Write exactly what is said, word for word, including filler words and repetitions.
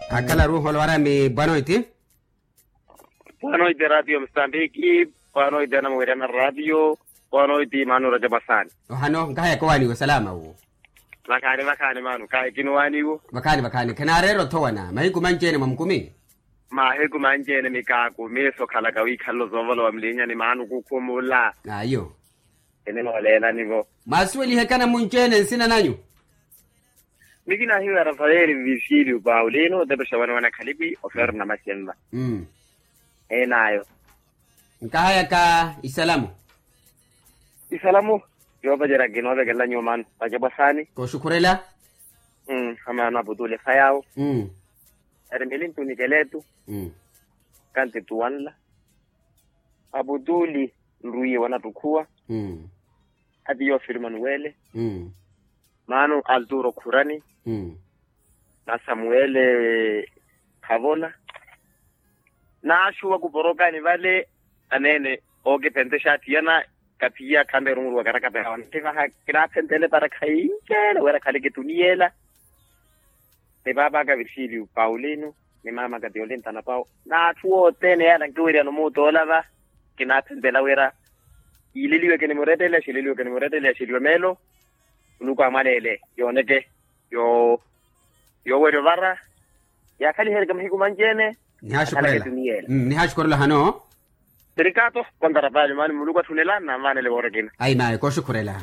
Akhala ruuholo warami bwanoiti. Bwanoiti ratio msambiki. Bwanoiti anamuwerya na ratio. Bwanoiti mano raja bwasani. Ohano nkahayaka owaaniwo salama wu. Vakhaani vakhaani mano kahekini owaaniwo. Vakhaani vakhaani khanaareera othowana mahiku manci-ene mwamukumi. Mahiku manci-ene mikaaku miiso khalaka wiikhalelo zoovolowa mulinyani mano kukhumula. Ayo. Enimooleelani-vo. Mwaasuwelihekana munci-ene nsina nanyu. Mikina hiyo ya rafaeli visilio paulino otepexa wene wene khalipi ofero na maxenva. Enaayo. Nkahayaka isalamu. Isalamu. Yoopacerya kinoovekelela nyuwo mano vacapwa saani. Kooxukhurela. Amaano aputule fayawo. Eri milintu nikeletu. Kanti tuwanla. Aputuli nrwiye wanattukhuwa. Ati yoofirima nuwele. Maano alturo khurani. Na samuwele khavola. Naaxuwa kuporokani vale. Aneene ookiphentexa atthiyana. Kaphiya khamperu muruwa karakaperawa ntivaha. Kinaaphenteele para khayincele wira khale kituniyela. Ni paapaka virgilio paulino ni maamaka tiolintana pawo n'atthu othene yaala nkiweriyano muutoola va. Kinaaphentela wira yiileliwe kinimuretteleya xileliwe kinimuretteleya xiliwe meelo. Muluku amwaleele yooneke yoowerya ovara. Yaakhalihereke mahiku manci-ene. Nihaaxukhurela. Nihaaxukhurela hano. Sirikato. Kontara paali maani muluku atthunela nanvaanele woorekina. Ayi mayi kooxukhurela.